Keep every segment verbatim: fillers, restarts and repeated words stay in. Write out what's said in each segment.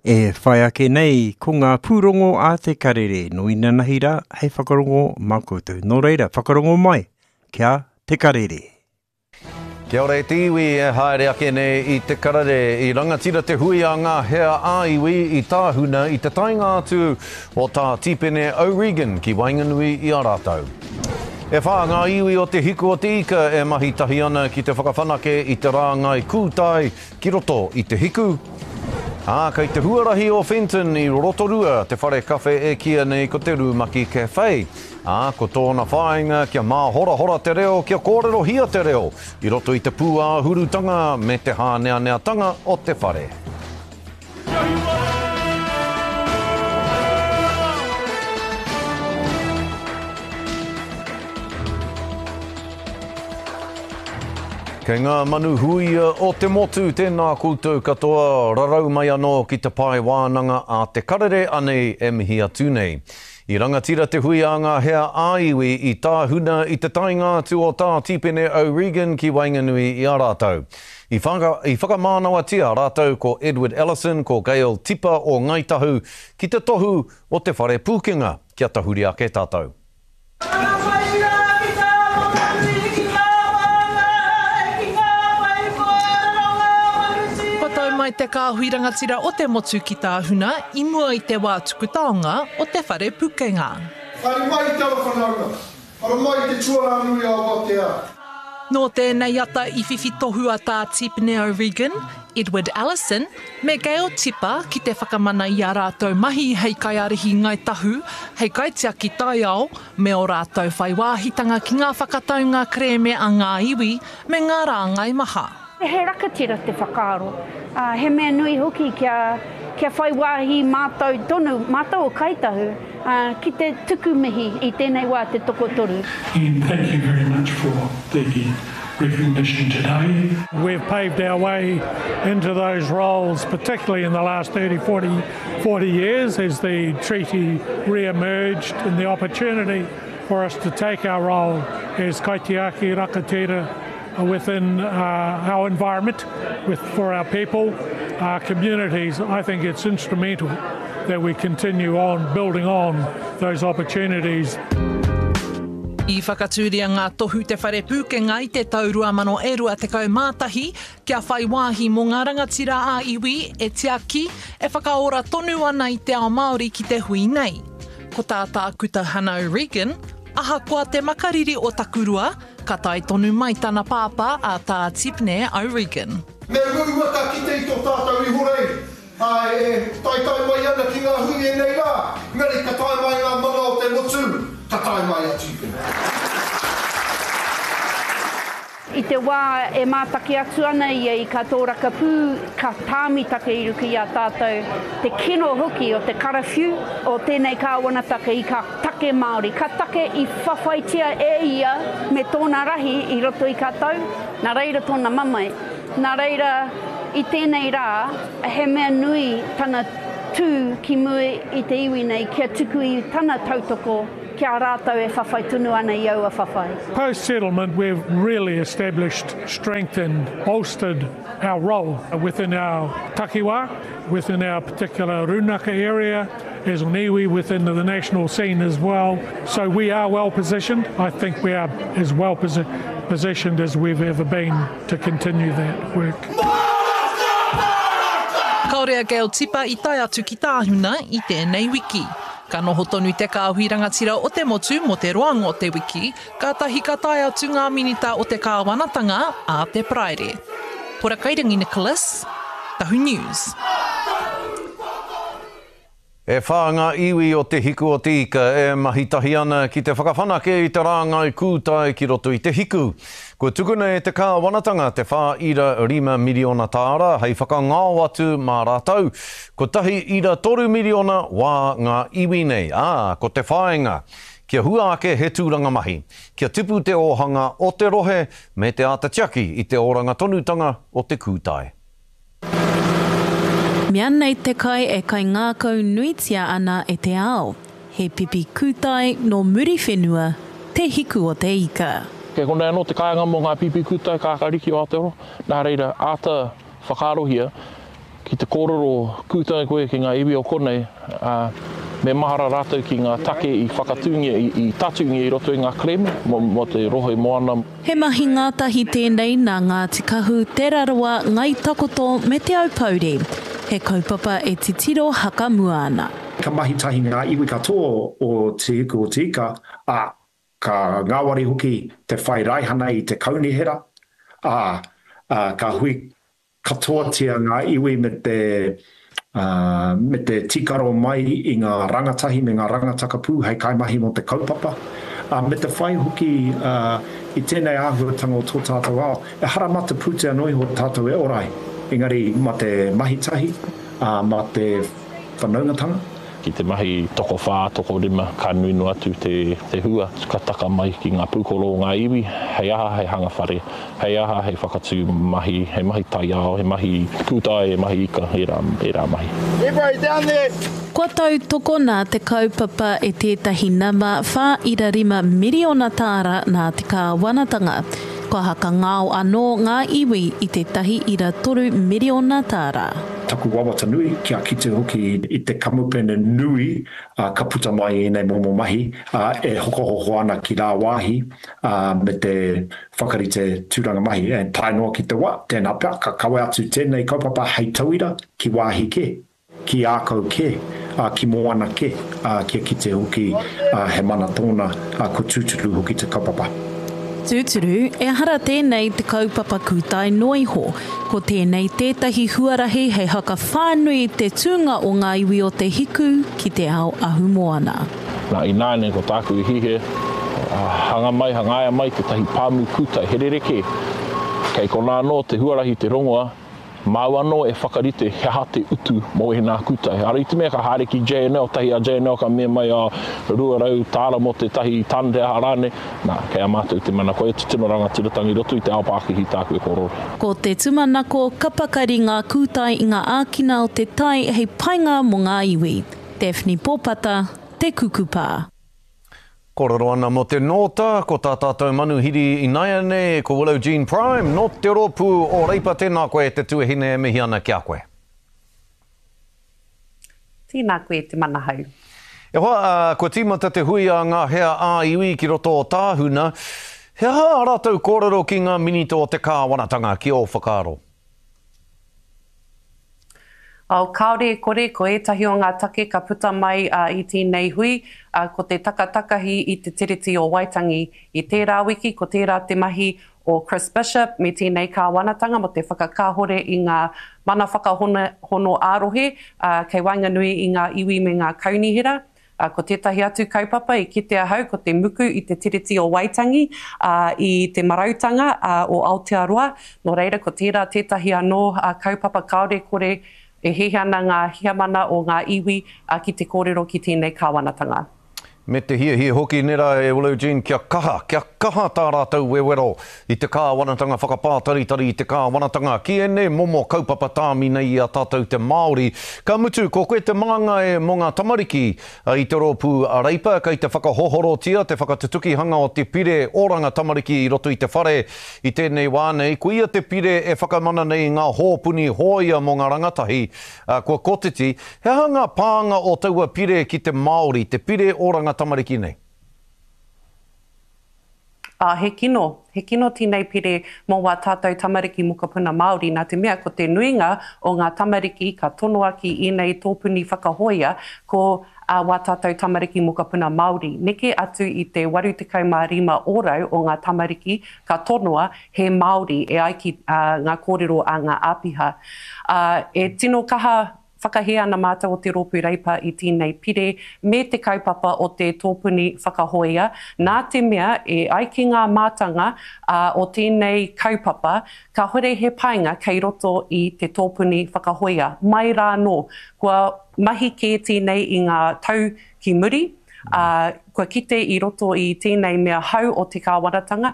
E whai ake nei ko ngā pūrongo a Te Karere no inanahi rā hei whakarongo mā koutou. Nō reira, whakarongo mai kia Te Karere. Kia ora e te iwi e haere ake nei i Te Karere, i rangatira te hui a ngā hea ā-iwi i Tāhuna i te taenga atu o Tā Tipene O'Regan ki waenganui i a rātou. E whā ngā iwi o te hiku o te ika e mahi tahi ana ki te whakawhanake i te rāngai kūtai ki roto i te hiku. Ā, kei te huarahi o Fenton i Rotorua te whare kawhe e kīia nei ko te Rūmaki Cafe. Ā, ko tōna whāinga kia māhorahora te reo, kia kōrerohia te reo i roto i te pūāhurutanga me te hāneaneatanga o te whare. Kei ngā manu huia o te motu, tēnā koutou katoa, rarau mai anō ki te pae wānanga a Te Karere anei e mihi atu nei. I rangatira te hui a ngā hea ā-iwi i Tāhuna i te taenga atu o Tā Tipene O'Regan ki waenganui i a rātou. I whaka, i whakamānawatia rātou ko Edward Ellison, ko Gail Tipa o Ngāi Tahu ki te tohu o te whare pūkenga kia tahuri ake tātou. Kua tau mai te kāhui rangatira o te motu ki Tāhuna i mua i te wā tuku taonga o te whare pukenga. Haere mai te ara whanaunga, ara mai te tuarā nui a Awatea. Nō tēnei ata i whiwhi tohu a Tā Tipene O'Regan, Edward Ellison, me Gail Tipa ki te whakamana i ā rātou mahi hei kaiārahi Ngāi Tahu, hei kaitiaki taiao, me ō rātou whai wāhitanga ki ngā whakataunga kerēme a ngā iwi me ngā rāngai maha. He rakatira te whakaaro, ā, he mea nui hoki kia, kia whai wāhi mātou tonu, mātou o Kāi Tahu, ā, ki te tuku mihi i tēnei wā te tokotoru. And thank you very much for the recognition today. We've paved our way into those roles, particularly in the last thirty, forty, forty years as the treaty re-emerged and the opportunity for us to take our role as kaitiaki rakatira within, uh, our environment, with, for our people, our communities. I think it's instrumental that we continue on building on those opportunities. I whakatūria ngā tohu te whare pūkenga i te tau rua mano e rua tekau mā tahi, kia whai wāhi mō ngā rangatira ā-iwi e tiaki, e whakaora tonu ana i te ao Māori ki te hui nei. Ko tā Tākuta Hana O'Regan, ahakoa te makariri o Takurua, ka tae tonu mai tana pāpā a Tā Tipene O'Regan. Me uaua ka kite i tō tātou ihorei, ā, e taetae mai ana ki ngā hui ēnei rā, engari ka tae mai ngā mana o te motu, ka tae mai a Tipene. I te wā e mātaki atu ana ia i ka tōrakapū, ka tāmitake i ruku i a tātou, te kino hoki o te karawhiu o tēnei kāwanataka i ka take Māori. Ka take i whawhaitia e ia me tōna rahi i roto i ka tau, nā reira tōna mamae. Nā reira, i tēnei rā, he mea nui tana tū ki mua i te iwi nei kia tuku i tana tautoko kia rātou e whawhai tonu ana i aua whawhai. Post-settlement, we've really established, strengthened, bolstered our role within our takiwa, within our particular runaka area, as an iwi within the national scene as well. So we are well positioned. I think we are as well posi-, positioned as we've ever been to continue that work. Kāore a Gail Tipa i tae atu ki Tāhuna i tēnei wiki. Ka noho tonu te kāhui rangatira o te motu mō te roanga o te wiki, kātahi ka tae atu ngā minita o te kāwanatanga a te Paraire. Pora Kairangi Nicholas, Tahu News. E whā ngā iwi o te hiku o te ika e mahi tahi ana ki te whakawhanake i te rāngai kūtai ki roto i te hiku. Kua tukuna e te kāwanatanga te whā ira rima miriona tāra hei whakangao atu mā rātou. Kotahi ira toru miriona wā ngā iwi nei. Ā, ko te whāinga. Kia hua ake he tūranga mahi. Kia tipu te ōhanga o te rohe me te āta tiaki i te oranga tonutanga o te kūtai. Mea nei te kai e kai ngākau nuitia ana e te ao. He pipi kūtai nō muri whenua, te hiku o te ika. Kei konei anō te kāinga mō ngā pipi kūtai kākāriki o Aotearoa. Nā reira, āta whakaarohia, Ki te kōrero kūtai koe ki ngā iwi o konei, ā, me mahara rātou ki ngā take i whakatūngia, i, i tatūngia i roto i ngā kerēme mō, mō te rohe moana. He mahi ngātahi tēnei nā Ngāti Kahu, Te Rarawa, Ngāi Takoto me Te Aupōuri. He kaupapa e titiro hakamua ana. Ka mahi tahi ngā iwi katoa o Te Hiku o Te Ika, ā, ka ngāwari hoki te whai raihana i te kaunihera, ā, ka hui katoatia ngā iwi me te, me te tīkaro mai i ngā rangatahi me ngā rangatakapū hei kaimahi mō te kaupapa, ā, me te whai hoki i tēnei āhuatanga o tō tātou ao. Ehara mā te pūtea noa iho tātou e ora ai, engari mā te mahi tahi, ā, mā te whanaungatanga. Ki te mahi tokowhā, tokorima, ka nui noa atu te, te hua ka taka mai ki ngā pūkoro o ngā iwi, hei aha, hei hanga whare, hei aha, hei whakatū mahi, hei mahi taiao, he mahi kūtai, he mahi ika, ērā, ērā mahi. Everybody down there! Kua tautokona te kaupapa e tētahi nama whā ira rima miriona tāra nā te kāwanatanga. Kua hakangao anō ngā iwi i tētahi ira toru miriona tāra. Taku wawata nui, kia kite hoki i te kamupene nui ka puta mai i ēnei momo mahi e hokohoko ana ki rāwāhi me te whakarite tūranga mahi. Tae noa ki te wā, tēnā pea ka kawe atu tēnei kaupapa hei tauira ki wāhi kē. Ki ākau kē, ā, ki moana kē, ā, kia kite hoki, ā, he mana tōna, ā, kua tūturu hoki te kaupapa. Tūturu, ehara tēnei te kaupapa kūtai noa iho. Ko tēnei tētahi huarahi hei hakawhānui te tūnga o ngā iwi o Te Hiku ki te ao ahumoana. Nā, ināianei ko tāku i hiahia, hanga mai, hangaia mai tētahi pāmu kūtai, he rerekē. Kei konā anō te huarahi te rongoa, Māu anō e whakarite he aha te utu mō ēnā kūtai. Ara i te mea ka haere ki JNL, tahi a JNL ka mea mai a rua rau tāra mō tētahi tane te aha rānei, nā, kei a mātou te mana. Koia te tino rangatiratanga i roto i te ao pākihi tāku e kōrero. Ko te tumanako ka pakari ngā kūtai i ngā ākina o te tai hei painga mō ngā iwi. Daphne Pōpata, Te Kukupā. Kōrero ana mō te nōta, ko tā tātou manuhiri inaianei, ko Willow Jean Prime, nō te rōpū o Reipa, tēnā koe e te tuahine e mihi ana ki a koe. Tēnā koe te manahau. E hoa, kua tīmata te hui a ngā hea ā-iwi ki roto o Tāhuna. He aha ā rātou kōrero ki ngā minita o te kāwanatanga, ki ō whakaaro? Oh, kāore e kore, ko ētahi o ngā take ka puta mai i tēnei hui, ko te takatakahi i te Tiriti o Waitangi. I tērā wiki, ko tērā te mahi o Chris Bishop me tēnei kāwanatanga mō te whakakāhore i ngā mana whakahono ā-rohe kei waenganui i ngā iwi me ngā kaunihera. Ā, ko tētahi atu kaupapa i kite ahau ko te muku i te Tiriti o Waitangi, ā, i te marautanga, ā, o Aotearoa, nō reira ko tērā tētahi anō, ā, kaupapa kāore kore e hiahia ana ngā heamana o ngā iwi, ā, ki te kōrero ki tēnei kāwanatanga. Me te hiahia hoki nera e Willow Jean kia kaha, kia kaha tā rātou wewero i te kāwanatanga whakapātaritari i te kāwanatanga ki ēnei momo kaupapa tāmi nei i a tātou te Māori. Ka mutu, ko koe te māngai mō ngā tamariki i te rōpū a Reipa, kei te whakahohorotia te whakatutukihanga o te pire oranga tamariki i roto i te whare i tēnei wā nei. Koia te pire e whakamana nei i ngā hōpuni hōia mō ngā rangatahi kua kotiti. He aha ngā pānga o taua pire ki te Māori, te pire oranga tamariki nei? Ā, he kino, he kino tēnei pire mō wā tātou tamariki mokopuna Māori, nā te mea ko te nuinga o ngā tamariki ka tonoa ki ēnei tōpuni whakahōia ko ā wā tātou tamariki mokopuna Māori. Neke atu i te waru tekau mā rima ōrau o ngā tamariki ka tonoa he Māori e ai ki ngā kōrero a ngā āpiha. Ā, e tino kaha Whakahē ana mātou o te Rōpū Reipa i tēnei pire me te kaupapa o te tōpuni whakahōia, nā te mea e ai ki ngā mātanga o tēnei kaupapa, kāhore he painga kei roto i te tōpuni whakahōia. Mai rā anō, kua mahi kē tēnei i ngā tau ki muri, ā, kua kite i roto i tēnei mea hou o te kāwanatanga,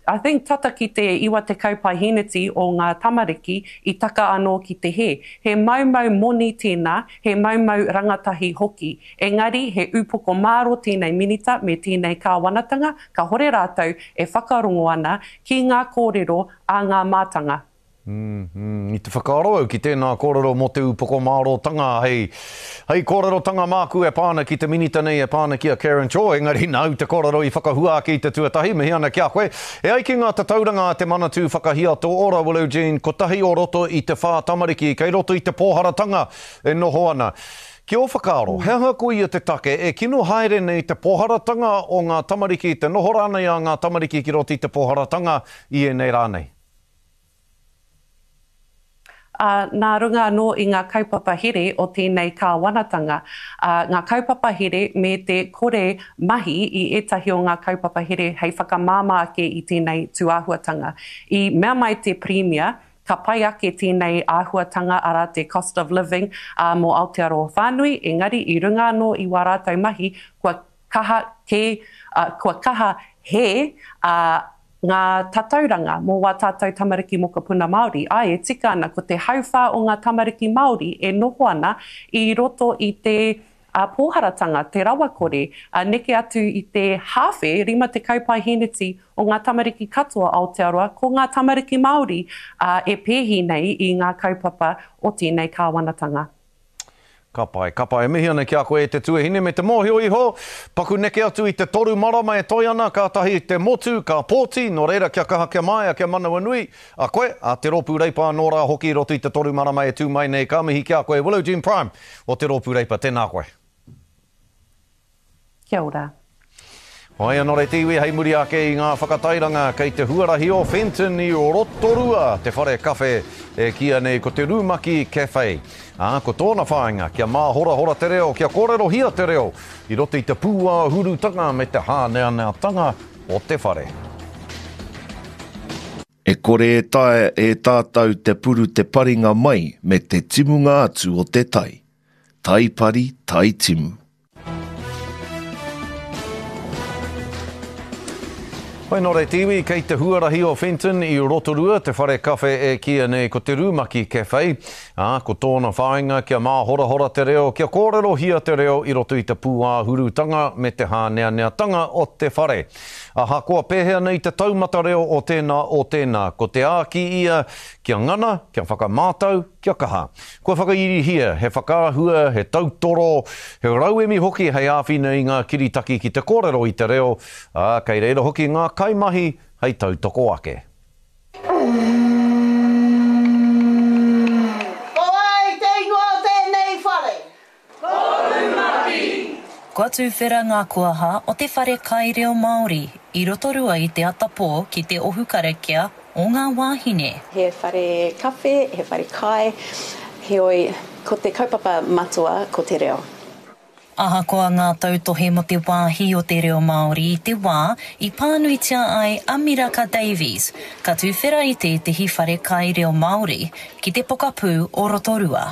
I think tata ki te iwa tekau paeheneti o ngā tamariki i taka anō ki te hē. He maumau moni tēnā, he maumau rangatahi hoki. Engari he upoko māro tēnei Minita me tēnei Kāwanatanga, kahore rātou e whakarongo ana ki ngā kōrero a ngā mātanga. Mm, mm. I te whakaaro au ki tēnā kōrero mō te upoko mārōtanga hei, hei kōrerotanga māku e pā ana ki te minita nei e pā ana ki a Karen Chor, engari nāu te kōrero i whakahua ake i te tuatahi, mihi ana ki a koe. E ai ki ngā tatauranga a te Manatū Whakahiato Ora, Willow Jean, kotahi o roto i te whā tamariki, kei roto i te pōharatanga e noho ana. Ki ō whakaaro, he aha koia te take e kino haere nei te pōharatanga o ngā tamariki, te noho rānei a ngā tamariki ki roto i te pōharatanga i ēnei rā nei? Ā, nā runga anō i ngā kaupapa here o tēnei kāwanatanga, ā, ngā kaupapa here me te kore mahi i ētahi o ngā kaupapa here hei whakamāmā ake i tēnei tūāhuatanga. I mea mai te Pirimia, ka pai ake tēnei āhuatanga, arā, te cost of living, ā, mō Aotearoa whānui, engari i runga anō i wā rātou mahi, kua kaha kē, ā, kua kaha hē, ā, ngā tatauranga mō wā tātou tamariki mokopuna Māori. Āe, e tika ana, ko te hauwhā o ngā tamariki Māori e noho ana i roto i te pōharatanga, te rawakore, ā, neke atu i te hāwhe, rima tekau paeheneti o ngā tamariki katoa Aotearoa, ko ngā tamariki Māori, ā, e pēhi nei i ngā kaupapa o tēnei kāwanatanga. Ka pai, ka pai. E mihi ana ki a koe e te tuahine me te mōhio iho, paku neke atu i te toru marama e toe ana, kātahi te motu, ka pōti, nō reira kia kaha, kia māia, kia manawanui a koe, a Te Rōpū Reipa anō rā hoki i roto i te toru marama e tū mai nei. Ka mihi ki a koe, Willow Jean Prime o Te Rōpū Reipa, tēnā koe. Kia ora. Whai anō te iwi hei muri ake i ngā whakatairanga kei te huarahi o Fenton i Rotorua te whare kawhe e kīia nei ko te Rumaki Cafe. Ā, ko tōna whāinga kia māhorahora te reo, kia kōrerohia te reo i roto i te pūāhurutanga me te hāneaneatanga o te whare. E kore e taea e tātou te puru te paringa mai me te timunga atu o te tai. Tai pari, tai timu. Hoi nō reira te iwi, kei te huarahi o Fenton i Rotorua te whare kawhe e kīia nei ko te Rumaki Cafe, ā, ko tōna whāinga kia māhorahora te reo, kia kōrerohia te reo i roto i te pūāhurutanga me te hāneaneatanga o te whare. Ahakoa pēhea nei te taumata reo o tēnā, o tēnā, ko te āki ia kia ngana, kia whakamātau, kia kaha. Kua whakairihia he whakaahua, he tautoro, he rauemi hoki hei āwhina i ngā kiritaki ki te kōrero i te reo, ā, kei reira hoki ngā kaimahi hei tautoko ake. Ko wai te ingoa o tēnei whare? Ko Rumaki. Kua tuwhera ngā kuaha o te whare kai reo Māori i Rotorua i te atapō ki te ohu karakia o ngā wāhine. He whare kawhe, he whare kai, heoi ko te kaupapa matua ko te reo. Ahakoa ngā tautohe mō te wāhi o te reo Māori i te wā i pānuitia ai a Miraka Davies, ka tuwhera i tētehi whare kai reo Māori ki te pokapū o Rotorua.